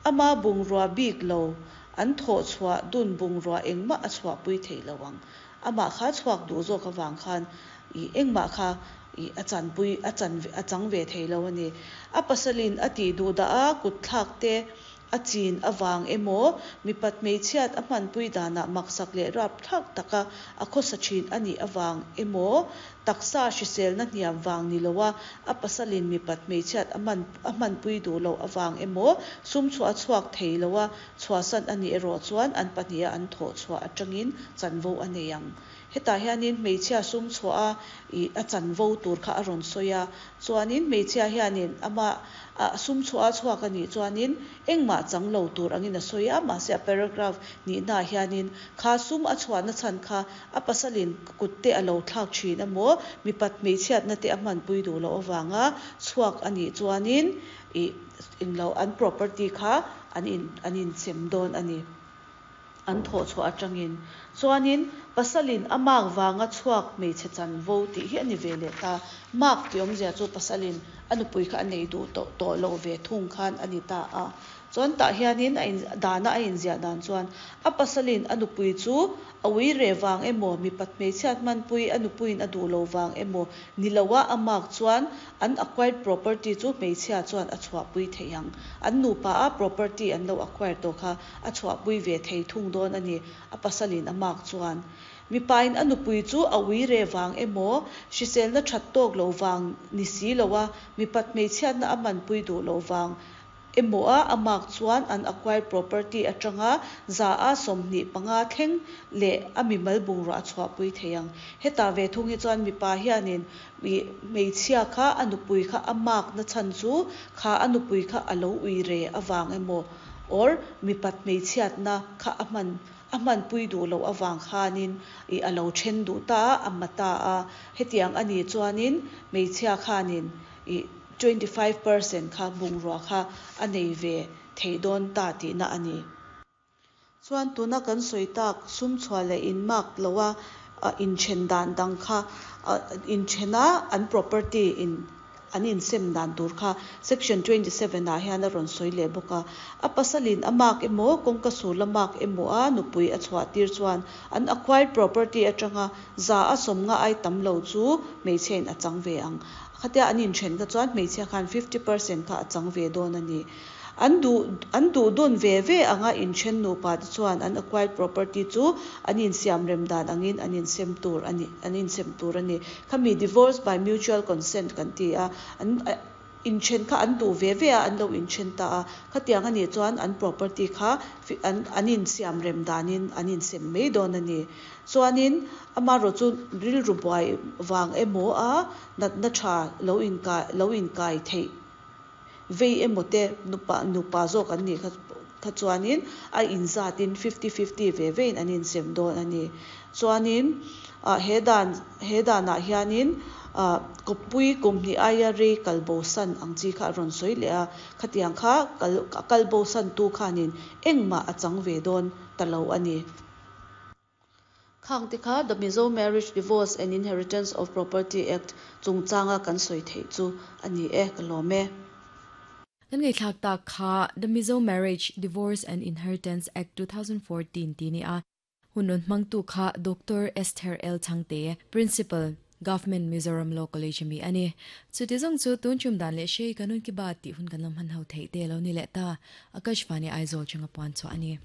Ama bungrua bik lo, an thawhchhuah dun bungrua engmah a chhuahpui thei lo ang. Amah kha chhuak duh zawk avang khan ih engmah kha ih a chanpui a chan a chang ve thei lo a ni. A pasalin a tih duh dah a kutthlak te a chin avang emaw, mipat hmeichhiat a hmanpui danah maksak leh rapthlak taka a khawsa thin a nih avang emaw, taksa hriselna hniam vang ni loa a pasalin mipat hmeichhiat a hman a hmanpui duh loh avang emaw, sum chhuah a chhuak thei loa chhuahsan a nih erawh chuan an pahniha an thawh chhuah atangin chanvo a nei ang. Hetah hianin hmeichhia sum chhuah a ih a chanvo tur kha a rawn sawi a, chuanin hmeichhia hianin ama a sum chhuah a chhuak a nih chuanin engmah chang lo tur angin a sawi a, mahse a paragraph nihnaah hianin kha sum a chhuahna chhan kha a pasalin kut te a lo thlak thin emaw mipat hmeichhiatna te a hmanpui duh loh avanga chhuak a nih chuanin ih englo an property kha an in an insem dawn a ni. An thawh chhuah atangin. Chuanin, pasalin a mark vanga chhuak hmeichhe chanvo tih hi a ni ve leh ta. Mark tih awmzia chu pasalin a nupui kha a nei duh tawh tawh loh ve thung khan a ni ta a. Chuan tah hianin a in dana a inziah dan chuan a pasalin a nupui chu a ui reh vang emaw, mipat hmeichhiat hmanpui a nupuiin a duh lo vang emaw ni loa a mark chuan An acquired property chu hmeichhia chuan a chhuahpui thei ang. An nupa a property an lo acquire tawh kha a chhuahpui ve thei thung dawn a ni, a pasalin a mark chuan. Mipain a nupui chu a ui re vang emaw, hriselna that tawk lo vang ni si lo a, mipat hmeichhiatna a hmanpui duh loh vang emaw a a mark chuan an acquired property atanga 25% thleng leh a mimal bungrua a chhuahpui thei ang. Hetah ve thung hi chuan mipa hianin ih hmeichhia kha a nupui kha a mark na chhan chu kha a nupui kha a lo ui re avang emaw or mipat hmeichhiatna kha a hman a hmanpui duh loh avang khanin ih a lo then duh ta a, a ma ta a. Hetiang a nih chuanin hmeichhia khanin ih 25% kha bungrua kha a nei ve thei dawn ta tihna a ni. Chuan tuna kan sawi tak sum chhuah leh in mark loa inthen dan dang kha inthena an property in an insem dan tur kha section 27 ah hian a rawn sawi leh bawk a. A pasalin a mark emaw kawngka sul a mark emaw a nupui a chhuah tir chuan an acquired property atanga 50% ai tam lo chu hmeichhiain a chang ve ang. Khatia an inthen kha chuan hmeichhia khan 50% kha a chang ve dawn a ni. An duh an duh dun ve ve anga inthen nupa te chuan an acquired property chu an insiam rem dan angin an insem tur a ni an insem tur a ni. Khami divorce by mutual consent kan ti a, an inthen kha an duh ve ve a, an lo inthen ta a. Khatiang a nih chuan an property kha an an insiam rem danin an insem mai dawn a ni. Chuanin amaherawh chu rilru buai vang emaw a natna tha lo inkai lo inkai theih vei emaw te nupa nupa zawk an nih kha kha chuanin a inzatin fifty fifty ve vein an insem dawn a ni. Chuanin ah he dan he danah hianin ah kawppui kum hnih aia rei kal bosan ang chi kha a rawn sawi leh a, khatiang kha kal a kal bosan tu khanin engmah a chang ve dawn ta lo a ni. Khang te kha The Mizo Marriage, Divorce and Inheritance of Property Act chungchanga kan sawi theih chu a ni e, ka lawm e. Kan ngaihthlak tak kha The Mizo Marriage, Divorce and Inheritance Act 2014 tih ni a, hun rawn hmangtu kha Doctor Esther L. Chhangte, Principal, Government Mizoram Law College ami a ni. Chuti zawng chu tun chum dan leh hrei kanun ki baat tih hun kan lo hman ho theih te lo ni leh ta. Akashvani Aizawl chunga puan chhuah a ni.